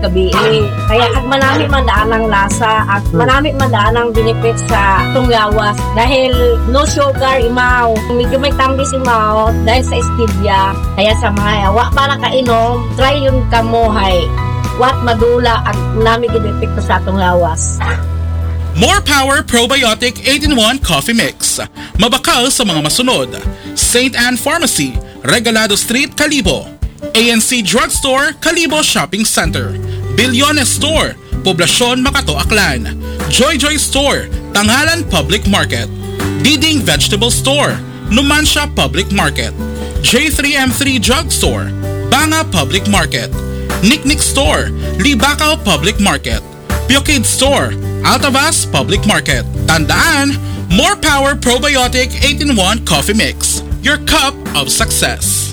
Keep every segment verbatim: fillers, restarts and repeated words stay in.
gabii. Kaya ag manami man daan ang lasa, ag manami man daan ang benefits sa atong lawas. Dahil no sugar imaw. Medyo may tambis imaw dahil sa stevia. Kaya sa mga wa pa nakainom, try yun kamo hay. Wat madula ag manami gid epekto sa atong lawas. More Power Probiotic eight-in-one Coffee Mix. Mabakal sa mga masunod: Saint Anne Pharmacy, Regalado Street, Kalibo. A N C Drugstore, Kalibo Shopping Center. Bilyones Store, Poblacion, Makato, Aklan. Joy Joy Store, Tangalan Public Market. Diding Vegetable Store, Numancia Public Market. J three M three Drugstore, Banga Public Market. Niknik Store, Libacao Public Market. Pure Kid Store, Altavas Public Market. Tandaan, More Power Probiotic eight-in-one Coffee Mix. Your cup of success.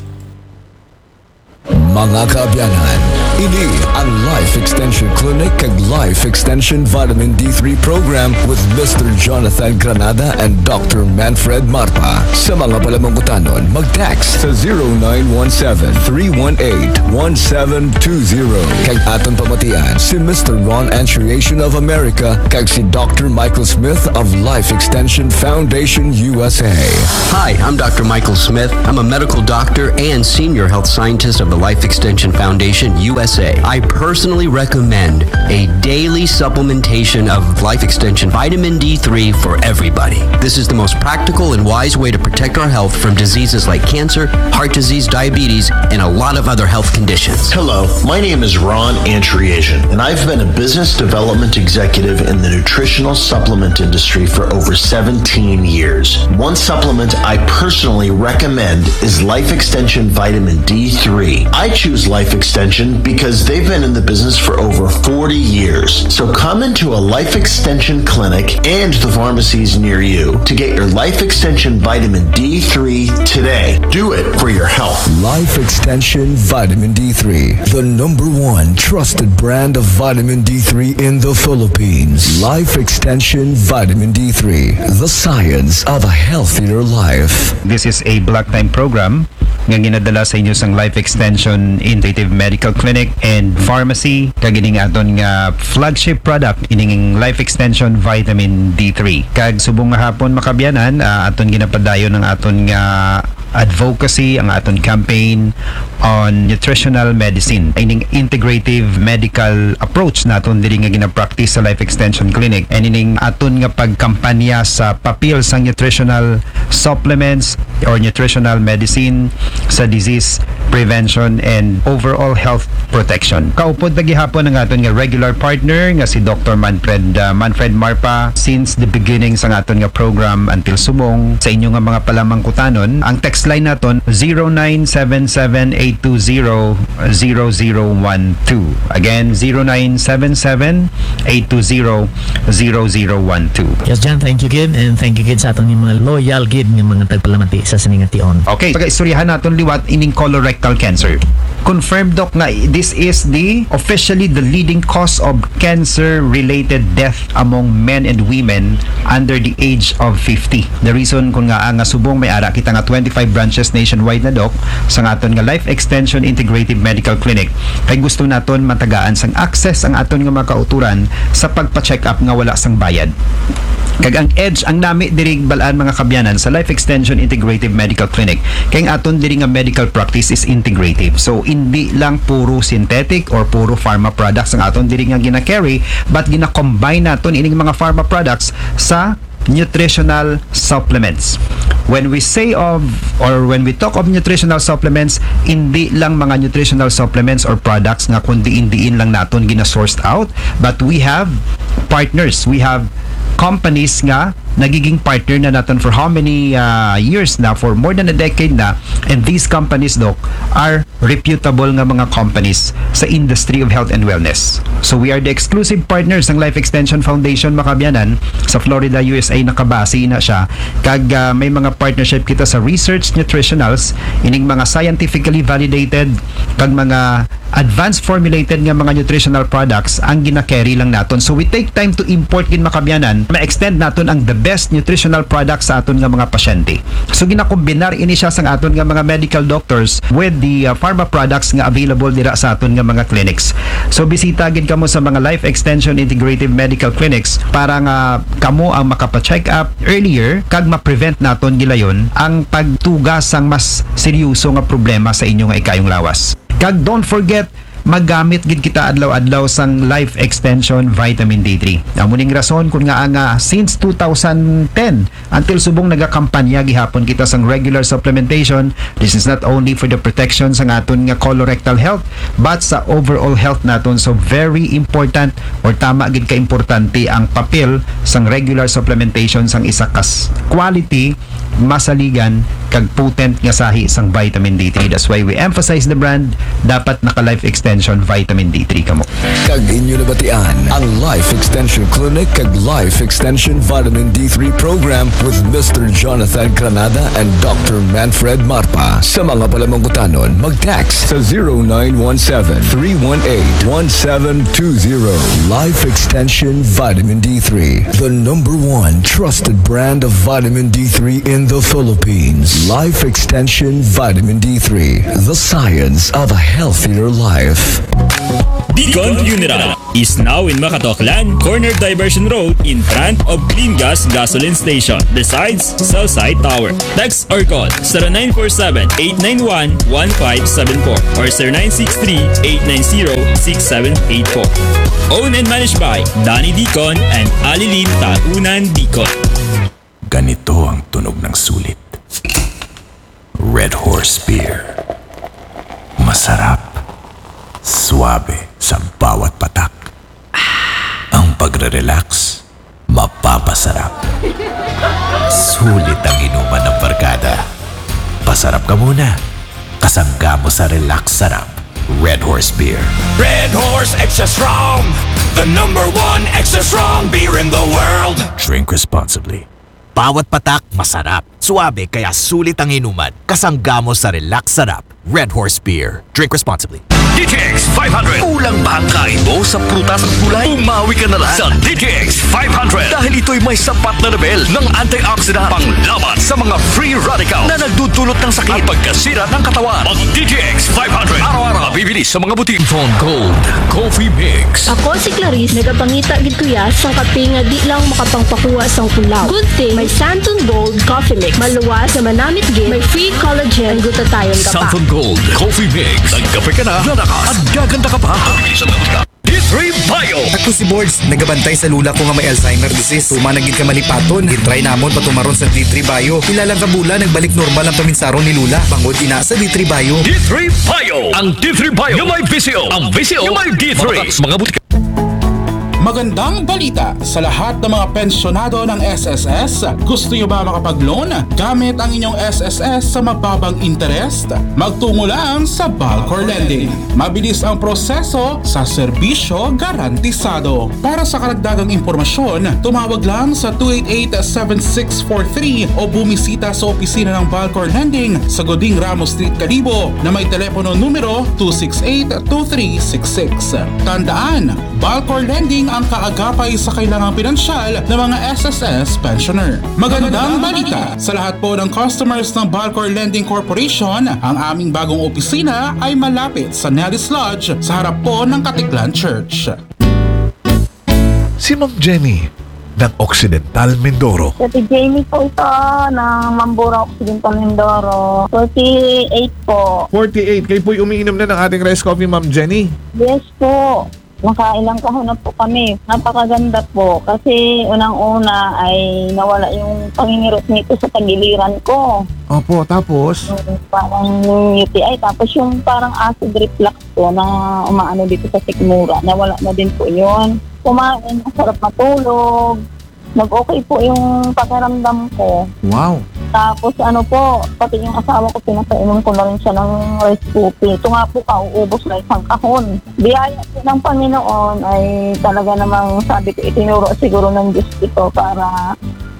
Mga kaabyanan, ini ang Life Extension Clinic kag Life Extension Vitamin D three Program with Mister Jonathan Granada and Doctor Manfred Marpa. Sa mga palamangkutanon, mag-text sa zero nine one seven, three one eight, one seven two zero. Kag aton pamatian si Mister Ron Anchuriation of America kag si Doctor Michael Smith of Life Extension Foundation U S A. Hi, I'm Doctor Michael Smith. I'm a medical doctor and senior health scientist of the Life Extension Foundation U S A. I personally recommend a daily supplementation of Life Extension Vitamin D three for everybody. This is the most practical and wise way to protect our health from diseases like cancer, heart disease, diabetes, and a lot of other health conditions. Hello, my name is Ron Anchuriation, and I've been a business development executive in the nutritional supplement industry for over seventeen years. One supplement I personally recommend is Life Extension Vitamin D three. I choose Life Extension because they've been in the business for over forty years. So come into a Life Extension clinic and the pharmacies near you to get your Life Extension Vitamin D three today. Do it for your health. Life Extension Vitamin D three, the number one trusted brand of vitamin D three in the Philippines. Life Extension Vitamin D three, the science of a healthier life. This is a block time program nga ginadala sa inyo sang Life Extension Integrative Medical Clinic and Pharmacy, kag ining aton nga flagship product, ining Life Extension Vitamin D three. Kag subong nga hapon, mga kaabyanan, ah, aton ginapadayon ang aton nga advocacy, ang aton campaign on nutritional medicine. Ining integrative medical approach naton diri nga ginapractice sa Life Extension Clinic. And ining aton nga pagkampanya sa papel sang nutritional supplements or nutritional medicine sa disease prevention and overall health protection. Kaupod ta gihapon ang aton nga regular partner nga si Doctor Manfred, ah, Manfred Marpa since the beginning sa aton nga program until subong. Sa inyo nga mga palamangkutanon, ang text line naton zero nine seven seven eight two zero zero zero one two. Again, zero nine seven seven eight two zero zero zero one two. Yes, John, thank you gid, and thank you gid sa aton nga mga loyal gid nga mga tagpalamati sa sining nga tion. Okay, pagaistoryahan naton liwat ining colorectal cancer. Confirmed, Doc, nga this is the officially the leading cause of cancer-related death among men and women under the age of fifty. The reason kun ngaa nga subong may ara kita nga twenty-five branches nationwide na, Doc, sa aton nga Life Extension Integrative Medical Clinic, kay gusto naton matagaan sang access ang aton nga mga kauturan sa pagpa-check up nga wala sang bayad. Kag ang edge, ang nami diri, bal-an, mga kaabyanan, sa Life Extension Integrative Medical Clinic, kay ang aton diri nga medical practice is integrative. So, hindi lang puro synthetic or puro pharma products ang aton diri nga gina-carry, but gina-combine naton ining mga pharma products sa nutritional supplements. When we say of, or when we talk of nutritional supplements, hindi lang mga nutritional supplements or products nga kun diin-diin lang naton gina-sourced out, but we have partners, we have companies nga nagiging partner na naton for how many, uh, years na, for more than a decade na, and these companies, Doc, are reputable nga mga companies sa industry of health and wellness. So we are the exclusive partners ng Life Extension Foundation, mga kaabyanan, sa Florida, U S A, nakabase na siya. Kag, ah, may mga partnership kita sa Research Nutritionals, ining mga scientifically validated kag mga advanced formulated nga mga nutritional products ang gina-carry lang naton. So we take time to import gid, mga kaabyanan. Ma-extend naton ang the best nutritional products sa aton nga mga pasyente. So ginakombinar ini siya sang aton nga mga medical doctors with the uh, pharma products nga available dira sa aton nga mga clinics. So bisita gid kamo sa mga Life Extension Integrative Medical Clinics para nga kamo ang makapa-check up earlier kag ma-prevent naton gilayon ang pagtuga sang mas seryoso nga problema sa inyo nga ikayong lawas. Kag don't forget, magamit gid kita adlaw-adlaw sang Life Extension Vitamin D three. Amo ning rason kun ngaa nga since two thousand ten until subong nagakampanya gihapon kita sang regular supplementation. This is not only for the protection sang aton nga colorectal health, but sa overall health naton. So very important or tama gid ka importante ang papel sang regular supplementation sang isa kas quality, masaligan kag potent nga sahi sang vitamin D three. That's why we emphasize the brand. Dapat naka Life Extension vitamin D three kamo. Kag inyo nabatian ang Life Extension Clinic kag Life Extension Vitamin D three Program with Mister Jonathan Granada and Doctor Manfred Marpa. Sa mga palamangkutanon, mag-text sa zero nine one seven, three one eight, one seven two zero. Life Extension Vitamin D three, the number one trusted brand of vitamin D three in the Philippines. Life Extension Vitamin D three, the science of a healthier life. Deacon Funeral is now in Makatoklan, corner Diversion Road, in front of Clean Gas Gasoline Station, besides Cell Site Tower. Text or call zero nine four seven, eight nine one, one five seven four or zero nine six three, eight nine zero, six seven eight four. Owned and managed by Danny Deacon and Alilin Taunan Deacon. Ganito ang tunog ng sulit. Red Horse Beer. Masarap. Suabe sa bawat patak. Ang pagre-relax, mapapasarap. Sulit ang inuman ng barkada. Pasarap ka muna. Kasangga mo sa relax sarap. Red Horse Beer. Red Horse Extra Strong, the number one extra strong beer in the world. Drink responsibly. Bawat patak, masarap. Suabe, kaya sulit ang inuman. Kasangga mo sa relax sarap. Red Horse Beer. Drink responsibly. D T X five hundred. Kulang ba ang kain mo sa prutas at gulay? Umawi ka na lang sa D T X five hundred dahil ito'y may sapat na level ng antioxidant panglaban sa mga free radical na nagdudulot ng sakit at pagkasira ng katawan. Mag D T X five hundred araw-araw, mabibili sa mga butika. Phone Gold Coffee Mix. Ako si Clarice, nagapangita gid ko ya sang kape nga di lang makapangpakuha sang kulaw. Good thing may Santon Gold Coffee Mix. Maluwas nga manamit gid, may free collagen and glutathione ka pa. Santon Gold Coffee Mix. Nagkape ka na, lalakas at gaganda ka pa. Mabibili sa mga butika. D three Bio. Ako si Bords, nagabantay sa lula ko nga may Alzheimer disease. Tuman na gid ka malipaton. Gitry namon patumaron sa D three Bio. Pila lang ka bulan, nagbalik normal ang paminsaron ni Lula. Bangod ina sa D three Bio. D three Bio. Ang D three Bio nga may visyo. Ang visyo nga may D three. Sa mga butika. Magandang balita sa lahat ng mga pensyonado ng S S S. Gusto nyo ba makapag-loan gamit ang inyong S S S sa mababang interest? Magtungo lang sa Balcor Lending. Mabilis ang proseso sa serbisyo garantisado. Para sa karagdagang impormasyon, tumawag lang sa two eight eight, seven six four three o bumisita sa opisina ng Balcor Lending sa Goding Ramos Street, Kalibo na may telepono numero two six eight, two three six six. Tandaan, Balcor Lending ang kaagapay sa kailangang pinansyal ng mga S S S pensioner. Magandang balita sa lahat po ng customers ng Balcor Lending Corporation. Ang aming bagong opisina ay malapit sa Nelly's Lodge sa harap po ng Katiklan Church. Si Ma'am Jenny ng Occidental Mindoro. Ate Jenny po ito ng Mambura Occidental Mindoro. forty-eight po. forty-eight. Kayo po'y umiinom na ng ating rice coffee, Ma'am Jenny? Yes po. Nakailang kahon na po kami. Napakaganda po. Kasi unang-una ay nawala yung pangingirot nito sa tagiliran ko. Opo, tapos? Yung parang U T I. Tapos yung parang acid reflux ko na umaano dito sa sikmura. Nawala na din po yun. Kumain, masarap matulog. Nag-okay po yung pakiramdam ko. Wow. Tapos ano po, pati yung asawa ko, pinapainom ko na rin siya ng rice coffee. Ito nga po, kauubos na isang kahon. Biyaya po ng Panginoon ay talaga namang, sabi ko, itinuro siguro ng Diyos ito para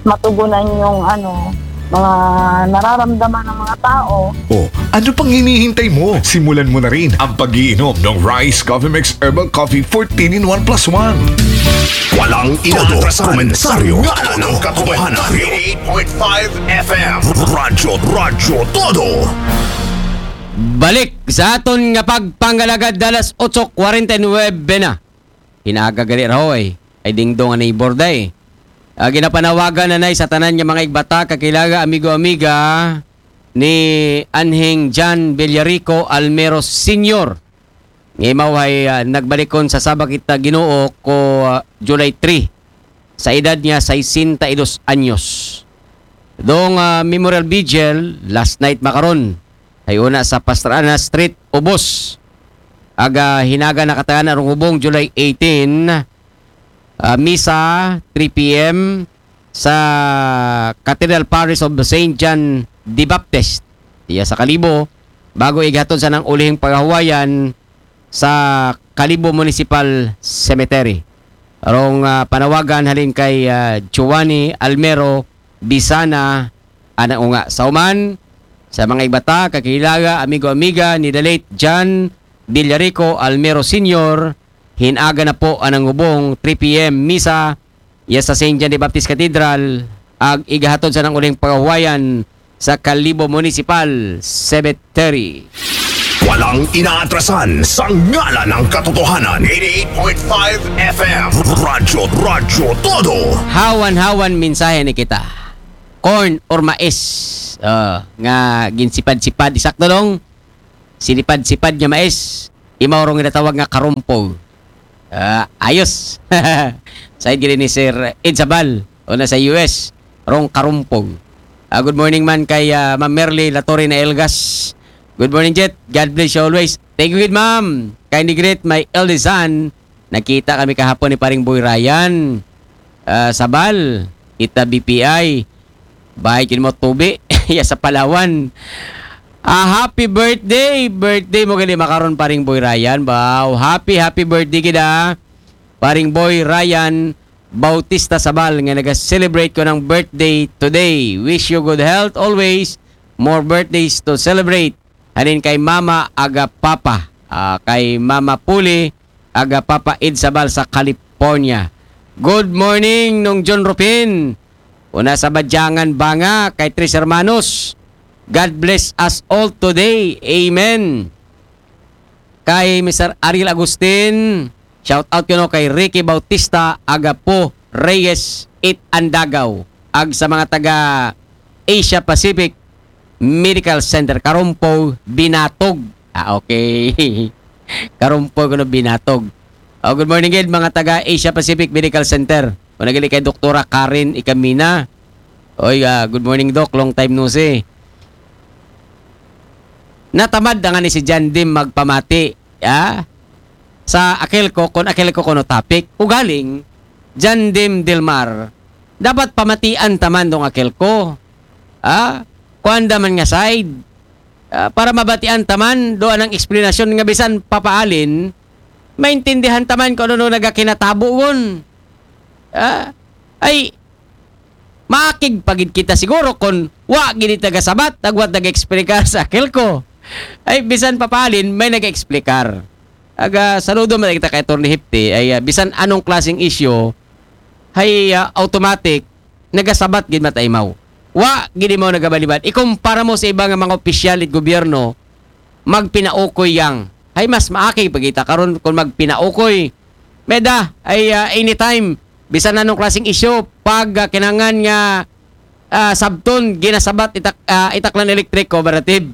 matugunan yung ano, mga nararamdaman ng mga tao. O, ano pang hinihintay mo? Simulan mo na rin ang pag-iinom ng Rice Coffee Mix Herbal Coffee fourteen in one plus one. Walang inaatrasan. Komentaryo. Ngala ng katotohanan. eighty-eight point five F M. Radyo, Radyo Todo. Balik sa aton nga pagpangalagad, alas otso kwarenta y nuebe na. Hinaga gali raw eh. Ay dingdong ang neighbor day. Ah, ginapanawagan na nay sa tanan nga mga igbata, kakilaga, amigo-amiga ni Anhing John Villarico Almero Senior. Nga imaw ay, ah, nagbalikon sa sabak kita Ginoo ko, ah, July three. Sa edad niya sesenta y dos anyos. Dong, ah, Memorial Vigil last night makaron. Ay una sa Pastrana Street, Ubos. Aga hinaga nakatagan arong hubong July eighteen. Ah, misa three p m sa Cathedral Parish of Saint John the Baptist. Iya sa Kalibo, bago ighatod sa nang ulihing pagahuwayan sa Kalibo Municipal Cemetery. Arong, ah, panawagan halin kay, ah, Giovanni Almero Bisana, anang unga sa uman sa mga igbata, kakilaga, amigo-amiga ni the late John Villarico Almero Senior. Hinaga na po anang hubong three p m misa iya sa Saint John the Baptist Cathedral, ag igahatod sa nang uling pagahuwayan sa Kalibo Municipal Cemetery. Walang inaatrasan sa ngala ng katotohanan. eighty-eight point five F M. Radyo, Radyo Todo. Hawan-hawan mensahe ni kita. Corn or mais, ah, nga ginsipad-sipad, isakto dong. Sinipad-sipad nga mais, imaw rong ginatawag nga karumpog. Ah, ayos. Sa gini ni Sir Ed Sabal, o na sa U S, rong karumpog. Ah, good morning man kay, ah, Ma'am Merly Latorre na Elgas. Good morning, Jet. God bless you always. Thank you, good ma'am. Kindly greet my eldest son. Nakita kami kahapon ni Paring Boy Ryan. Ah, Sabal, ita B P I. Bahay kin mo tubi. Ya sa Palawan. Ah, happy birthday. Birthday mo gali makaron, Paring Boy Ryan. Wow, happy, happy birthday kita. Paring Boy Ryan Bautista Sabal nga naga-celebrate ko ng birthday today. Wish you good health always. More birthdays to celebrate. Hanin kay Mama aga Papa. Ah, kay Mama Puli aga Papa Id Sabal sa California. Good morning, Nong John Rupin. Una sa Badyangan Banga kay Tres Hermanos. God bless us all today. Amen. Kay Mister Ariel Agustin, shout out kuno kay Ricky Bautista, Agapo Reyes, It Andagaw, ag sa mga taga Asia Pacific Medical Center, Karumpo, Binatog. Ah, okay. Karumpo kuno, Binatog. Oh, good morning gid, mga taga Asia Pacific Medical Center. Una gali kay Doktora Karen Ikamina. Oy, ah, good morning, Doc. Long time no see. Natamad na nga ni si John Dim magpamati, ah, sa Akelco, kon Akelco kuno topic. Ugaling, John Dim Dilmar, dapat pamatian taman dong Akelco. Ah, kuan da man nga side. Ah, para mabatian taman do anang eksplanasyon nga bisan papaalin, maintindihan taman kung ano nagakinatabo gon. Ah, ay, maakig pa gid kita siguro kon wa gid taga Sabat, agwat nag-explicar sa Akelco. Ay, bisan papaalin, may nag-explicar. Aga, saludo man kita kay Attorney Hipti, ay, ah, bisan anong klaseng issue, hay, ah, automatic, nagasabat gid mataimaw. Wa gid mo nagabalibad. Ikumpara mo sa iba nga mga opisyal it gobyerno, magpinaukoy yang. Hay mas maakig pa kita karon kung magpinaukoy. Meda, ay, ah, anytime, bisan anong klaseng issue, pag, ah, kinangan nga, ah, sabton, ginasabat itak, ah, itaklan electric cooperative.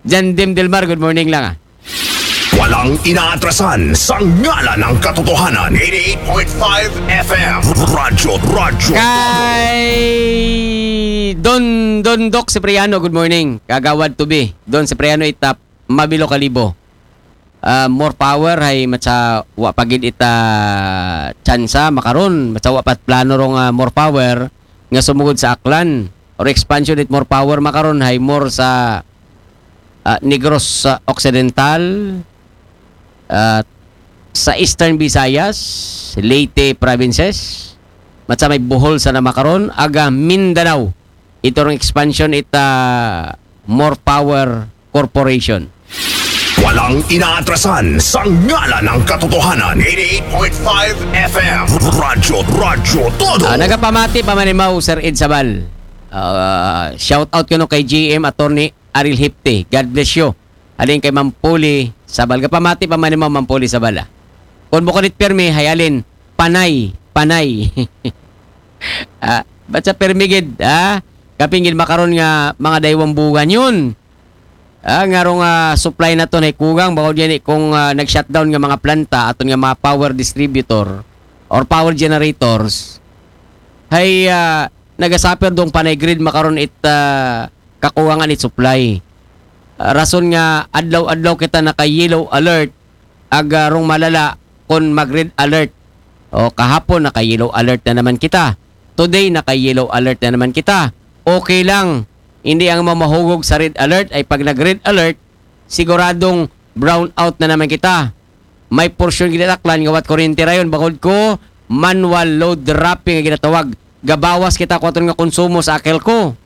Jan Dim Delmar, good morning lang, ah. Walang inaatrasan sa ngalan ng katotohanan. eighty-eight point five F M. Radyo, Radyo. Kay Don, Don Doc Cipriano, good morning. Kagawad Tubi. Don Cipriano Itap, Mabilo Kalibo. Ah, more power, hay matsa wa pa gid ita tsansa makaron, matsa wa pa plano rong, ah, more power nga sumugod sa Aklan or expansion it more power makaron, hay more sa, ah, Negros, ah, Occidental, ah, sa Eastern Visayas, Leyte provinces, matsa may Bohol sa namakaron, aga Mindanao. Iturong expansion ita More Power Corporation. Walang inaatrasan sa ngalan ng katotohanan. eighty-eight point five F M. Radyo, Radyo Todo. Ah, nagapamati pa man imaw, Sir Ed Sabal. Ah, shout out kuno kay G M Attorney Aril Hipti. God bless you. Halin kay Mampuli Sabal. Gapamati pa man imaw, Mampuli Sabal, ah. Kung bukod it pirmi, hayalin, panay, panay. Ah, ba't sa pirmi gid, ah? Kaping gid makaron nga mga daywang bugan yun. Ah, nga rong, ah, supply naton hay kugang, bawal yan eh, kung, ah, nag-shutdown nga mga planta, aton nga mga power distributor or power generators, hay, ah, nagasuffer dong panay grid makaron it, ah, kakuwangan it supply. Ah, rason nga adlaw-adlaw kita naka-yellow alert, ag, ah, rong malala kon mag-red alert. O, kahapon naka-yellow alert na naman kita. Today naka-yellow alert na naman kita. Okay lang. Hindi ang mamahugog sa red alert ay pag nag-red alert, siguradong brown out na naman kita. May porsyon gid it Aklan nga wat kuryente rayon, bakod ko manual load dropping nga ginatawag. Gabawas kita ko aton nga konsumo sa AKELCO.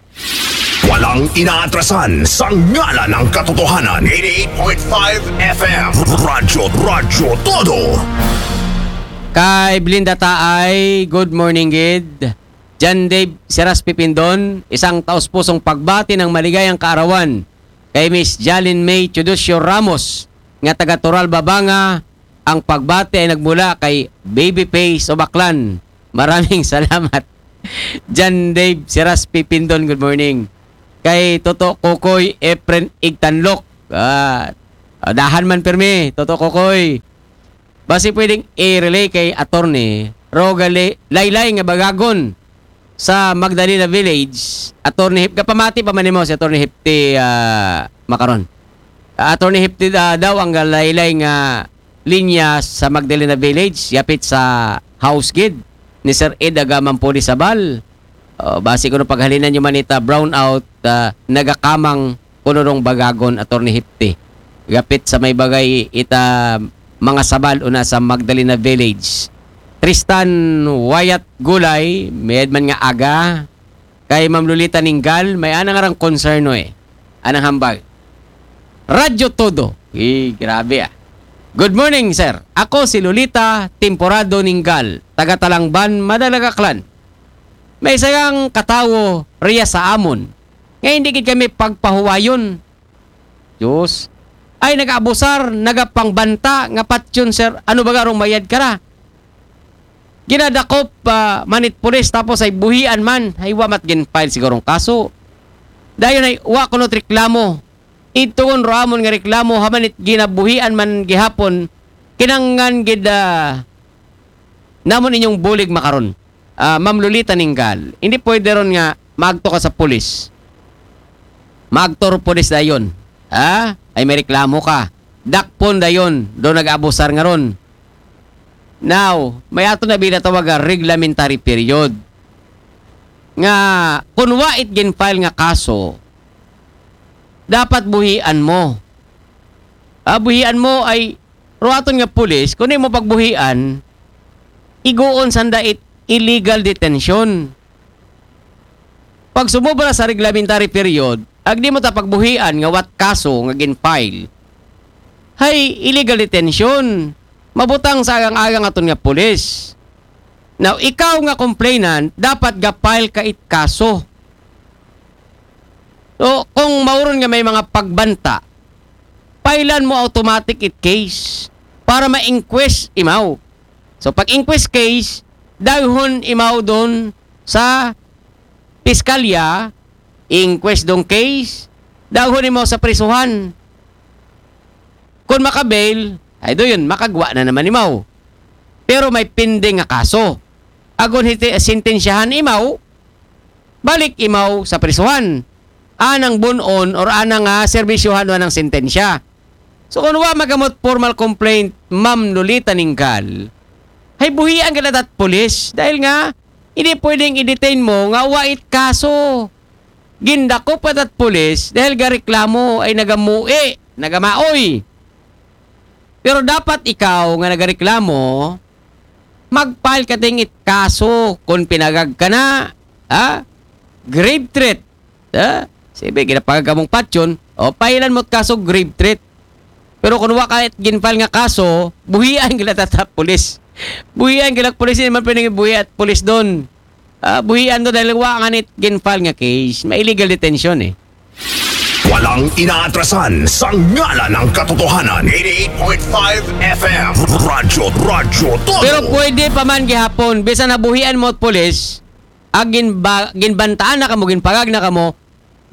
Walang inaatrasan sa ngalan ng katotohanan. eighty-eight point five F M. Radyo, Radyo Todo. Kay Blinda Taay, good morning gid. John Dave Seras Pipindon, isang taus-pusong pagbati ng maligayang kaarawan kay Miss Jalin May Teodosio Ramos nga taga Toral, Babanga. Ang pagbati ay nagmula kay Baby Face Obaklan. Maraming salamat. John Dave Seras Pipindon, good morning. Kay Toto Kokoy Efren Igtanlok. Ah, ah, dahan man pirmi, Toto Kokoy. Basi pwedeng i-relay kay attorney, rogali, laylay nga bagagon sa Magdalena Village, attorney Hip, kapamati pa man nimo si attorney Hipti, ah, makaron. Ah, attorney Hipti, ah, daw ang laylay nga linya sa Magdalena Village, yapit sa house gid ni Sir Ed Agamampuli Sabal. Oh, basi kuno paghalinan nyo man ita brownout, ah, nagakamang kuno rong bagagon, attorney Hipti. Gapit sa may bagay ita mga sabal una sa Magdalena Village. Tristan Wyatt Gulay, mayad man nga aga. Kay Ma'am Lolita Ninggal, may anang arang konserno eh. Anang hambag. Radyo Todo. Eh, grabe ah. Good morning, sir. Ako si Lolita Temporado Ninggal, taga Talangban, Madalag, Aklan. May isang katawo riya sa amon nga hindi gid kami pagpahuwayon. Diyos. Ay, nag-abusar, nagapangbanta, nga patyon, sir. Ano ba garong mayad ka na? Ginadakop, ah, man it pulis, tapos ay buhian man. Ay, wa mat gin-file sigurong kaso. Dayon ay, wa kuno reklamo. Itugon ro amon nga reklamo, haman it ginabuhian man gihapon. Kinanglan gid, ah, namon inyong bulig makaron. Ah, Ma'am Lolita Ninggal, hindi pwede ron nga maagto ka sa pulis. Maagto ro pulis dayon. Ha? Ay may reklamo ka. Dakpon dayon, do nag-abusar nga ron. Now, may ato na binatawag nga reglementary period. Nga, kung wa it gin-file nga kaso, dapat buhian mo. Ah, buhian mo ay, ro aton nga pulis, kung di mo pagbuhian, iguon sanda it illegal detention. Pag sumobra sa reglementary period, ag di mo ta pagbuhian nga wat kaso nga gin-file, hay illegal detention. Mabutang sa agang-agang aton nga pulis. Now, ikaw nga complainant, dapat ga-file ka it kaso. So, kung mauron nga may mga pagbanta, filean mo automatic it case para ma-inquest imaw. So, pag inquest case, daghon imaw doon sa piskalya, inquest dong case, daghon imaw sa prisuhan. Kung makabail, ay do yun, makagwa na naman imaw. Pero may pending nga kaso. Agon hiti, sentensyahan imaw, balik imaw sa prisuhan. Anang bunon or anang, ah, serbisyohan o anang sentensya. So, kung wa magamot formal complaint, Ma'am Lolita Ninggal, hay buhian ka na tat pulis. Dahil nga, hindi pwedeng i-detain mo nga wa it kaso. Gindakop ka tat pulis dahil ga reklamo ay nagamui, nagamaoy. Pero dapat ikaw nga nagareklamo, mag-file ka ting it kaso kung pinagag ka na, ha? Grave threat. Ha? Sige, ginapagag ka mong patyon, o, file-an mo kaso grave threat. Pero kung wa ka ginfile nga kaso, buhian gila tata pulis. Buhian gila pulis, hindi man pwedeng buhian pulis doon. Ah, buhian to dahil wa nga nit ginfile nga case. May illegal detention eh. Walang inaatrasan sa ngalan ng katotohanan. Eighty-eight point five F M. Radyo, Radyo Todo. Pero pwede pa man gihapon, bisan nabuhian mo at pulis, ag ginba, ginbantaan na kamo, ginpagag na kamo,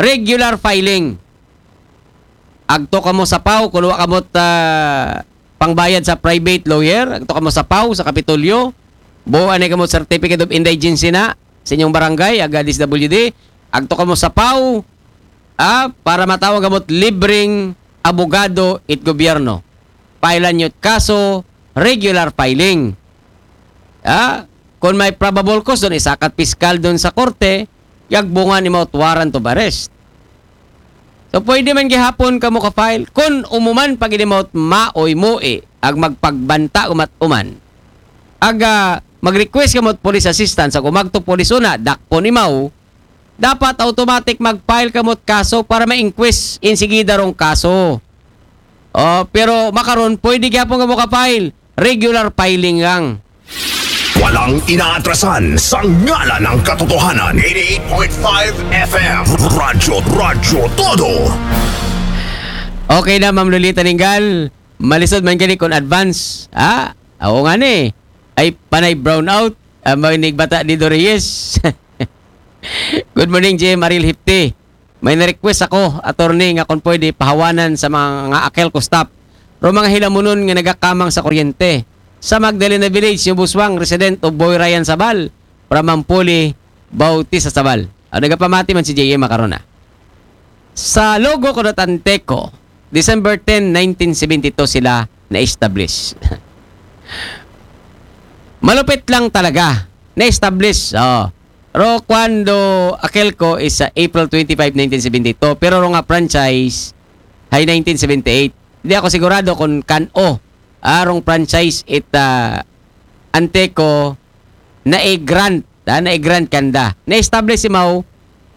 regular filing. Agto kamo sa PAO, kung wa kamo ta pangbayad sa private lawyer, agto kamo sa PAO, sa Kapitolyo, buo ani kamo certificate of indigency na sa inyong barangay, aga D S W D, agto kamo sa PAO, ah, para matawag kamo libreng abogado it gobyerno. File-an nyo kaso, regular filing. Ah, kung may probable cause doon, isakat piskal doon sa korte, yagbungan ni mouth warrant of arrest. So, pwede man gihapon kamo ka-file. Kung umuman pag ini mouth maoy mui, ag magpagbanta umat uman. Aga, mag-request kamo police assistance, ag umagto police una, dakpon imaw, dapat automatic mag-file kamo kaso para ma-inquest insigida rong kaso. Oh, pero makaron, pwede gyapon kamo ka-file. Regular filing lang. Walang inaatrasan sa ngalan ng katotohanan. Eighty-eight point five F M. Radyo, Radyo Todo. Okay na, Ma'am Lolita Ninggal. Malisod man gani kung advance. Ha? Ako nga ni. Ay, panay brownout. Ah, may nigbata ni Dorius. Good morning, J M Aril Hipti. May na-request ako, attorney, nga kung pwede pahawanan sa mga nga AKELCO staff. Ro mga hilamunon nga nagakamang sa kuryente. Sa Magdalena Village, yung Buswang, resident of Boy Ryan Sabal, from Mampuli, Bautista Sabal. Ah, nagapamati man si J M makaron na. Sa Logo Codot Anteco, December ten, nineteen seventy-two sila na-establish. Malupit lang talaga. Na-establish. Oh. Ro cuando AKELCO is sa April twenty-five, nineteen seventy-two. Pero ro nga franchise, hay nineteen seventy-eight. Hindi ako sigurado kung kan-o arong franchise it ah, Anteco na i-grant, ah, na i-grant kanda. Na-establish si Mao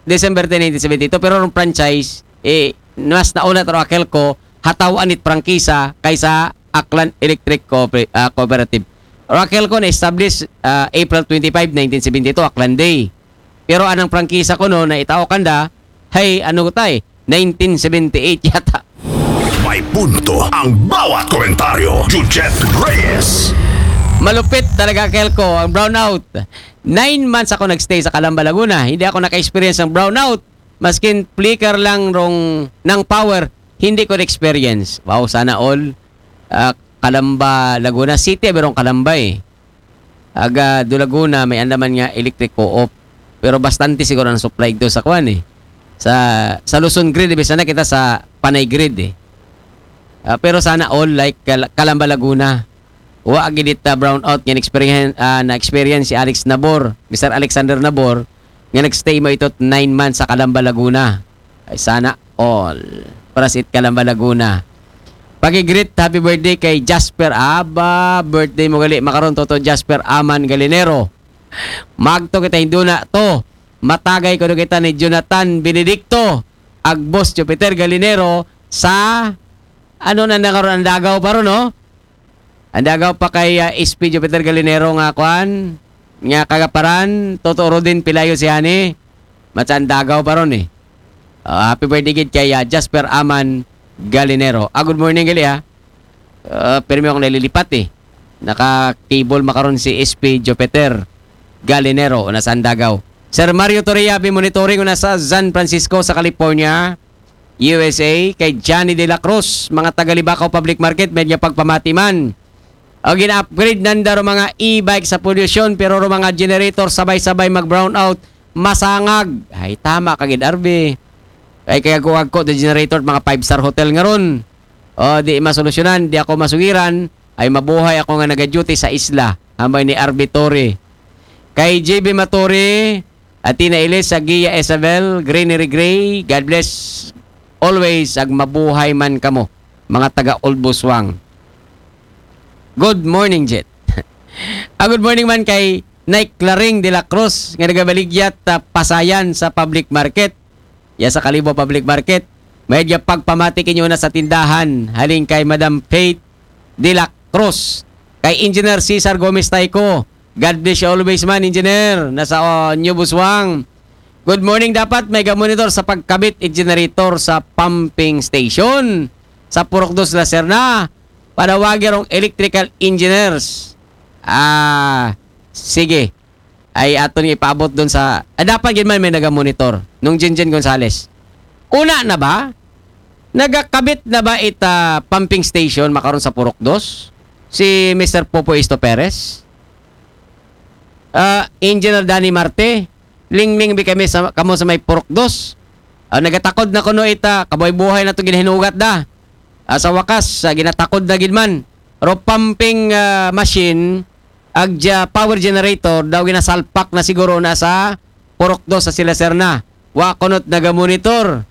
December ten, nineteen seventy-two, pero rong franchise, eh, mas nauna taro AKELCO, hataw-an it prangkisa kaysa Aklan Electric Cooper-, ah, Cooperative. Ro AKELCO na-establish ah, April twenty-five, nineteen seventy-two, Aklan Day. Pero anang prangkisa kuno na itao kanda, hay ano tay, nineteen seventy-eight yata. May punto ang bawat komentaryo. Jujet Reyes. Malupit talaga, AKELCO, ang brownout. Nine months ako nagstay sa Calamba, Laguna. Hindi ako naka-experience ng brownout. Maskin flicker lang rong ng power, hindi ko na-experience. Wow, sana all. Ah, Calamba, Laguna City, merong Calamba eh. Aga do Laguna, may andaman nga electric co-op. Pero bastante siguro ang supply do sa kwan eh. Sa, sa Luzon grid, ibig sana kita sa Panay grid eh. Ah, pero sana all like Kal- Calamba, Laguna. Wa gid it, ah, brownout nga experience, ah, na-experience si Alex Nabor, Mister Alexander Nabor, nga nagstay mo ito nine months sa Calamba, Laguna. Ay, sana all. Para sa it Calamba, Laguna. Pag-greet, happy birthday kay Jasper. Aba, birthday mo gali. Makaron, Toto Jasper Aman Galinero. Magto kita hinduna to. Matagay ko kita ni Jonathan Benedicto. Agbos Jupiter Galinero sa ano na nakaroon ang dagaw pa ron, no? Ang dagaw pa kay ah, S P Jupiter Galinero nga kwan, nga kagaparan, Toto Rodin Pilayo si Hani, matsa ang dagaw pa ron eh. Ah, happy birthday gid kay ah, Jasper Aman Galinero. Ah, good morning gali ha. Ah, pero may akong nalilipat eh. Naka-cable makaron si S P Jupiter Galinero, una sa Andagaw. Sir Mario Torre, happy monitoring, una sa San Francisco sa California. U S A, kay Johnny De La Cruz, mga taga Libacao Public Market, medyo pagpamati man. O gina-upgrade nanda ro mga e-bike sa polusyon, pero ro mga generator sabay-sabay mag-brownout, masangag. Ay, tama ka gid, Arby. Ay, kaya kuwag ko the generator, mga five-star hotel nga ron. O, di masolusyonan, di ako masugiran, ay mabuhay ako nga nag-duty sa isla. Ambay ni Arby Torre. Kay J B Maturi, Athena Elisa, Gia Isabel, Greenery Gray, God bless always, ag mabuhay man kamo, mga taga Ulbuswang. Good morning, Jet. Ah, good morning man kay Nay Claring de la Cruz, nga nagabaligyat ah, Pasayan sa public market. Ya sa Kalibo Public Market. May pagpamati kinyo na sa tindahan. Halin kay Madam Faith de la Cruz. Kay Engineer Cesar Gomez Tayco. God bless you always man, Engineer. Nasa uh, New Buswang. Good morning, dapat may ga-monitor sa pagkabit at generator sa pumping station sa Purok Dos, La Serna. Panawagi rong electrical engineers. Ah, sige. Ay aton nga ipaabot doon sa, ah, dapat gid man may naga-monitor. Nung Jinjin Gonzales. Una na ba? Nagakabit na ba ita pumping station makaron sa Purok Dos? Si Mister Popo Isto Perez? Ah, Engineer Danny Marte, lingling bi kami sa, kamo sa may Purok Dos. Ah, nagatakod na kuno ita, kabuhay-buhay na to ginahinugat da. Ah, sa wakas, ah, ginatakod na gid man. Ro pumping ah, machine, agja power generator, daw ginasalpak na siguro na sa Purok Dos sa Sila Serna. Wa kunot naga-monitor.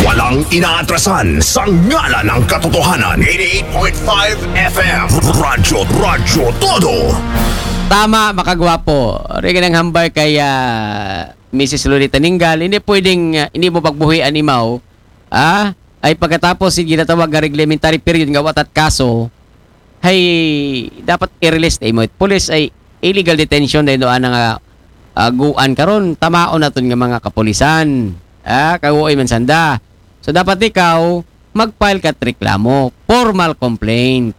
Walang inaatrasan sa ngalan ng katotohanan. eighty-eight point five F M. Radyo, Radyo Todo. Tama, makagwapo. Rin ang hambay kay ah, Missus Lolita Ninggal, hindi pwedeng, ah, hindi mo pagbuhian imaw, ah, ay pagkatapos si ginatawag nga reglementary period nga watat kaso, ay dapat i-release na imo. Police ay illegal detention dahil doon nga ah, guan karon, tamaon naton nga mga kapulisan. Ah, kaguoy man sanda. So dapat ikaw mag-file ka reklamo, formal complaint.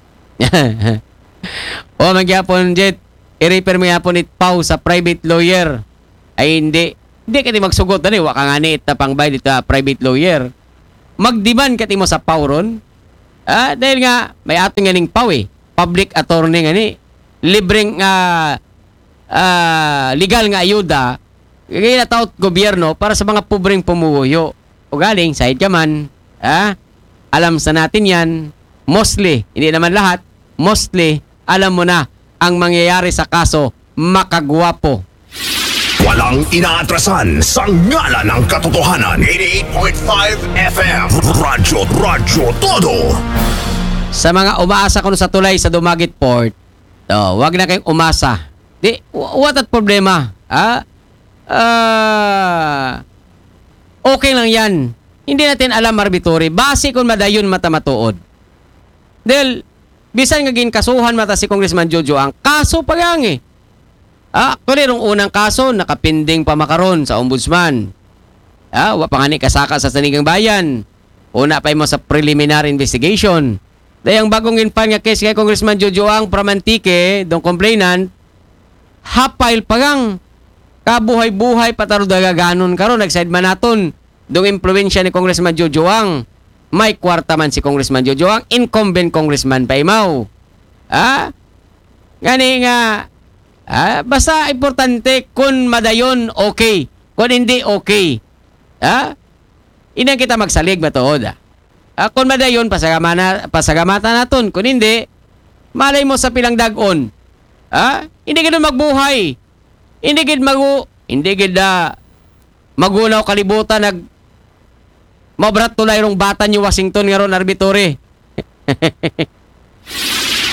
O magyapon, Jet, i-refer mo yapon it pau sa private lawyer. Ay hindi. Hindi ka di magsugot na wa ka nga ni ita pang bayad ita private lawyer. Mag-demand ka timo sa pau ron. Ah, dahil nga may aton nga ning pau eh. Public attorney nga ni. Libreng ah, ah, legal nga ayuda ginataot gobyerno para sa mga pobreng pumuhuyo. O galing, side ka man, ah, alam sa natin yan, mostly, hindi naman lahat, mostly, alam mo na ang mangyayari sa kaso, makagwapo. Walang inaatrasan sa ngalan ng katotohanan. eighty-eight point five F M. Radyo, Radyo Todo. Sa mga umaasa kuno sa tulay sa Dumaguete Port, oh, wag na kayong umasa. Di, wa- what at problema? Ha? Ah, okay lang yan. Hindi natin alam, Marbitore. Base kung madayon mata matuod. Dahil, bisan nga ginkasuhan mata si Congressman Jojo ang kaso pa gang eh. Ah, actually, rong unang kaso, nakapinding pa makaron sa ombudsman. Ah, wa pa nga ni kasaka sa Sanigang Bayan. Una pa mo sa preliminary investigation. Dayang bagong infile nga case kay Congressman Jojo ang from Antique, dong complainant, hapay pa gang kabuhay-buhay pataro dagaganon karon nag-side man naton dong impluwensya ni Congressman Jojo ang may kwarta man si Congressman Jojo ang incumbent congressman pa imaw. Ha? Ngani nga, ah, basta importante kung madayon, okay. Kung hindi, okay. Ha? Inang kita magsalig matuod, ah. Ah, kung madayon, pasagamana, pasagamatan naton. Kung hindi, malay mo sa pilang dagon. Ha? Hindi gid magbuhay. Hindi gid magu, hindi gid ah, magunaw kalibutan nag mabrat tulay rong bata ni Washington nga ron, Marbitore.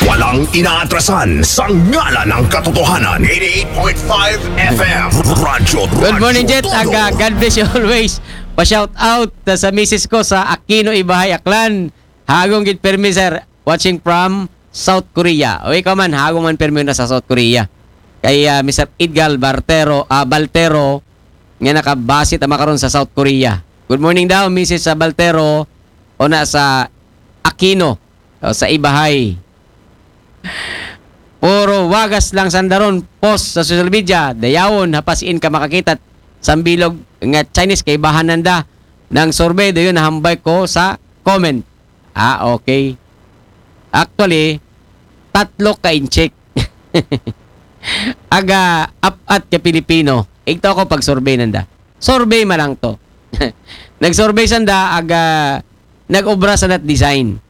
Walang inaatrasan sa ngalan ng katotohanan. eighty-eight point five F M. Radyo, Good morning, Jet. Todo. Aga, God bless you always. Pa-shout out sa misis ko sa Aquino, Ibahay, Aklan. Hagong gid permi, sir. Watching from South Korea. O ikaw man, hagong man permi na sa South Korea. Kay ah, Mister Edgar Bartero, ah, Baltero, nga nakabase tama karon sa South Korea. Good morning daw, misis sa Baltero, o na sa Aquino, o sa Ibahay. Puro wagas lang sandaron, post sa social media, dayawon, hapasiin ka makakita, sambilog nga Chinese kay bahanan da ng survey, dayon nahambay ko sa comment. Ah, okay. Actually, tatlo ka inchik. Aga, apat ka Pilipino. Igto ako pag survey nanda. Survey man lang to. Nag-survey sanda, aga, nag-obra sa nat design.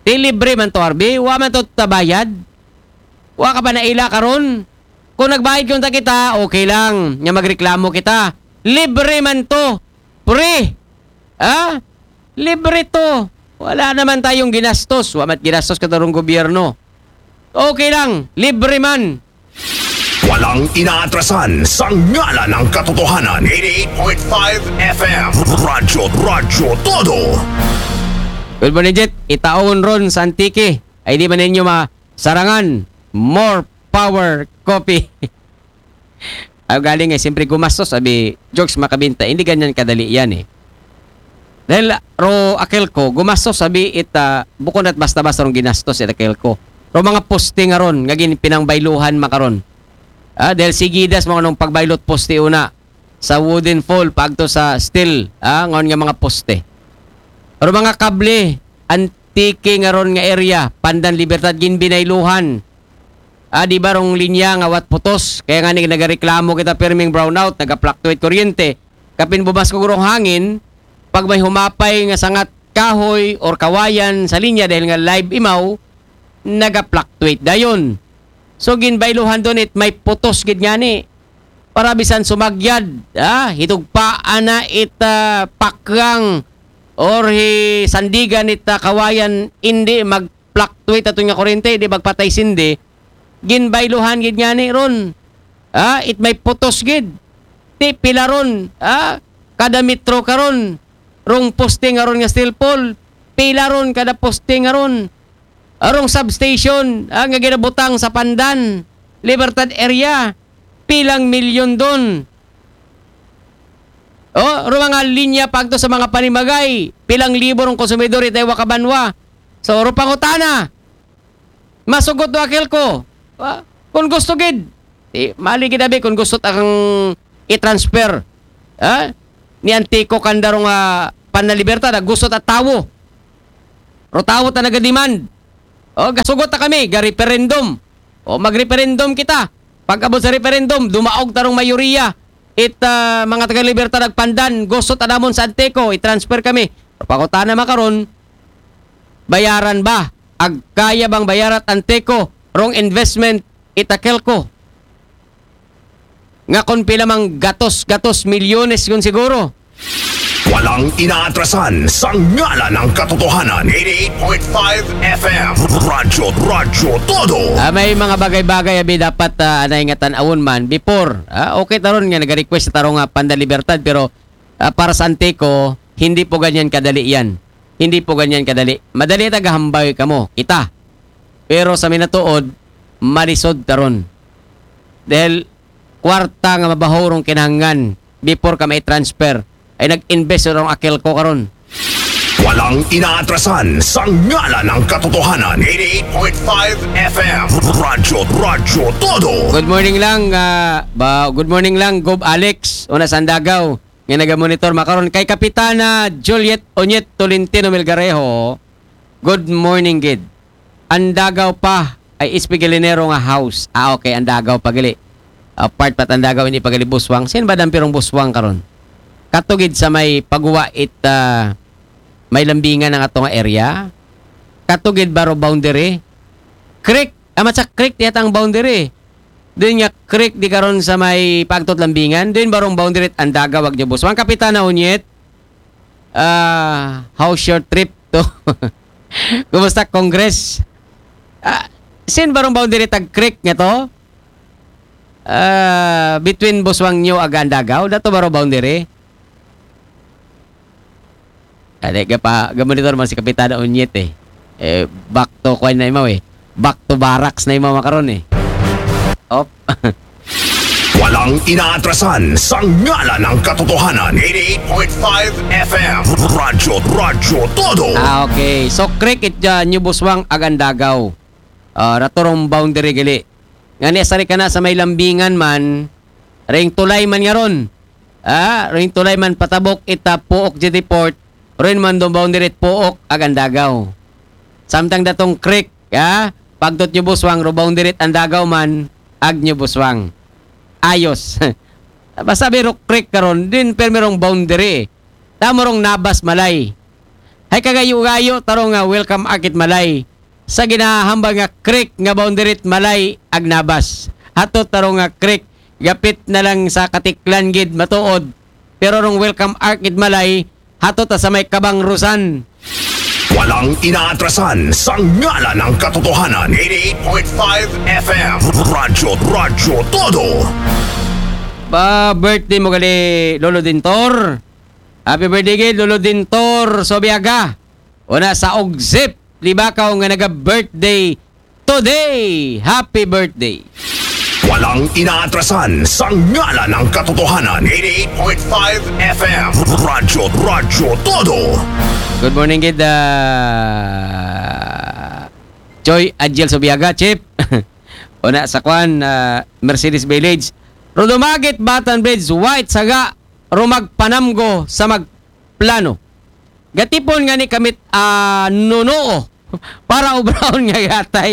Di libre man to, Arbi. Wa man to tabayad. Wa ka pa naila karon. Kung nagbayad kung ta kita, okay lang. Nga magreklamo kita. Libre man to. Free. Ha? Libre to. Wala naman tayong ginastos. Wa mat ginastos ka tarong gobyerno. Okay lang. Libre man. Walang inaatrasan sa ngalan ng katotohanan. Eighty-eight point five F M. Radyo, Radyo Todo. Good morning, Jet. Itaon ron sa Antique. Ay, di ba ninyo masarangan? More power coffee. Ay, galing eh, siyempre gumastos, sabi, jokes makabinta. Hindi ganyan kadali yan eh. Dahil ro Akelco, gumastos, sabi, it, ah, bukon at basta-basta rong ginastos, it Akelco. Ro mga poste nga ron, nga gin-, pinangbayluhan makaron. Ah, dahil sigidas mo anong pagbaylot poste una sa wooden pole, pagto sa steel, ah, ngon nga mga poste. Ro mga kable, Antique nga ron nga area, Pandan Libertad, ginbinayluhan. Ah, di ba rong linya nga wat putos? Kaya nga ni nagareklamo kita pirming brownout, nagapluctuate kuryente. Kapin bumas ko rong hangin, pag may humapay nga sangat kahoy or kawayan sa linya dahil nga live imaw, nagapluctuate dayon. So, ginbayluhan doon it may putos gid nga ni. Para bisan sumagyad, ah, hitugpaan na it, ah, pakyang or hi sandigan it, ah, kawayan, hindi mag-fluctuate ato nga kurente, di magpatay sindi. Ginbayluhan gid nga ni ron. Ah, it may putos gid. Ti pila ron, ah, kada metro karon. Rong poste nga ron nga steel pole. Pila ron kada poste nga ron. Arong substation, ah, nga ginabutang sa Pandan, Libertad area. Pilang milyon doon. Oh, ro mga linya pagto sa mga panimagay. Pilang libo rong konsumidor itay wakabanwa. So, ro pangutana. Masugot do Akelco. Ah, kung gusto gid. Di, mali gid abi kung gusto ta kang i-transfer. Ha? Ni Antico kanda rong, ah, Pandan Libertad, ah, gusto ta tawo. Ro tawo ta nagademand. O, gasugot ta kami, ga referendum. O, mag-referendum kita. Pag abot sa referendum, dumaog ta rong mayoriya. It, ah, mga taga Libertad ag Pandan, gusto ta namon sa Antico, i-transfer kami. Pangutana makaron, bayaran ba? Ag kaya bang bayarat Antico, rong investment, it Akelco? Nga kon pila mang gatos-gatos milyones kun siguro. Walang inaatrasan sa ngalan ng katotohanan. Eighty-eight point five F M. Radyo, Radyo Todo. Ah, may mga bagay-bagay abi dapat, ah, anay nga tan-awon man. Before, ah, okay taron nga nag-request sa tarong, ah, Pandan Libertad, pero, ah, para sa Antico, hindi po ganyan kadali yan. Hindi po ganyan kadali. Madali tagahambay kamo, kita. Pero sa minatuod, malisod taron. Dahil kwarta nga mabaho rong kinahanglan before ka may transfer, ay nag-invest rong Akelco karon. Walang inaatrasan sa ngalan ng katotohanan. Eighty-eight point five F M. Radyo, Radyo Todo. Good morning lang, ah, ba, good morning lang, Gob Alex, una sa Andagaw, nga nagamonitor makaron kay Kapitana Juliet Onyet Tolentino Melgarejo. Good morning, gid. Andagaw pa ay Espigalinero nga house. Ah, okay, Andagaw pa gali. Ah, part pa Andagaw, hindi pa gali Buswang. Sin ba dampirong Buswang karon? Katugid sa may paguwa it, ah, may lambingan ang ato nga area. Katugid baro boundary. Creek, amat sa creek, diya ang boundary. Din nga creek di karon sa may pagtot lambingan. Din barong boundary it Andagaw ag Buswang. Kapitana Onyet, ah, how's your trip to? Kumusta Congress? Ah, sin barong boundary tag creek nga to? Ah, between Buswang New ag Andagaw, dato baro boundary? Ade, ga pa, ga monitor man si Kapitana Onyet eh. Eh, back to kwan na imaw eh. Back to barracks na imaw makaron eh. Op. Walang inaatrasan sa ngalan ng katotohanan. Eighty-eight point five F M. Radyo, Radyo Todo. Ah, okay. So, creek it, ah, New Buswang ag Andagaw. Ah, rato rong boundary gali. Nga ni asari ka na sa may lambingan man, ring tulay man nga ron. Ah, ring tulay man patabok ita Pook Jetty Port, rin man dong boundary it Pook ag Andagaw. Samtang datong creek, ah, pagtot New Buswang, ro boundary it Andagaw man, ag New Buswang. Ayos. Basta biro creek karon, din permi rong boundary. Tamo rong Nabas Malay. Hay kagayo-gayo tarong nga welcome ark it Malay. Sa ginahambal nga creek nga boundary it Malay ag Nabas. Ato tarong nga creek, gapit na lang sa Katiklan gid matuod. Pero rong welcome ark it Malay, hato ta sa may Kabang Rusan. Walang inaatrasan sa ngalan ng katotohanan. Eighty-eight point five F M. Radyo, Radyo Todo. Pa birthday mo gali, Lolo Dintor. Happy birthday gid, Lolo Dintor Sobiaga. Una sa Ogsip, Libakaw nga naga-birthday today. Happy birthday. Walang inaatrasan sa ngalan ng katotohanan. Eighty-eight point five F M. Radyo, Radyo Todo. Good morning gid, ah, Choy Adjel Sobiaga, Chief. Una sa kwan, ah, Mercedes Village. Rodumagit Batan Bridge, white saga, rumag panamgo sa magplano. Gatipon nga ni kamit, ah, nunuo para ubrahon nga gatay.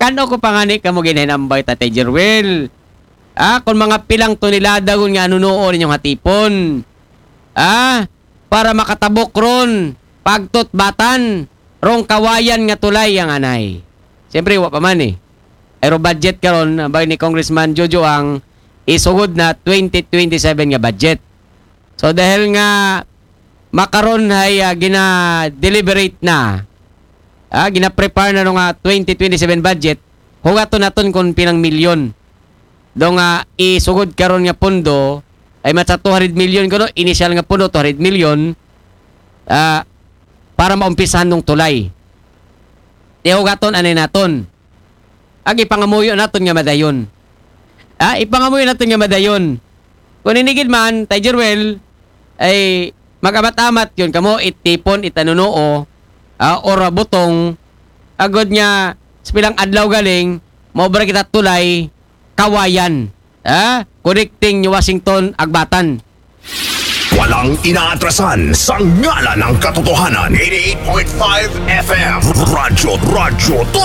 Kano ko pa nga ni kamo ginhinambay, Tatay Jerwel? Ah, kung mga pilang tonelada gun nga nunuo ninyong hatipon. Ah, para makatabok ron, pagtutbatan, rong kawayan nga tulay ang anay. Siyempre, wa pa man eh. Pero budget karon, bay ni Congressman Jojo ang isugod na twenty twenty-seven nga budget. So dahil nga makaron ay, ah, gina-deliberate na, ah, gina-prepare na no nga twenty twenty-seven budget, hugaton naton kung pinang milyon. Do nga isugod karon nga pondo ay matsa two hundred million kuno, initial nga pondo two hundred million, ah, para maumpisahan ng tulay. Tihugaton anay naton. Ag ipangamuyo naton nga madayon. Ah, ipangamuyo naton nga madayon. Kung inigid man, Tay Jerwel, ay mag-amat-amat yun kamo, itipon, itanunuo, ah, or butong, agod nga sa pilang adlaw galing, maubra kita tulay, kawayan. Ah, connecting New Washington, Agbatan. Walang inaatrasan sa ngalan ng katotohanan. Eighty-eight point five F M. Radyo, Radyo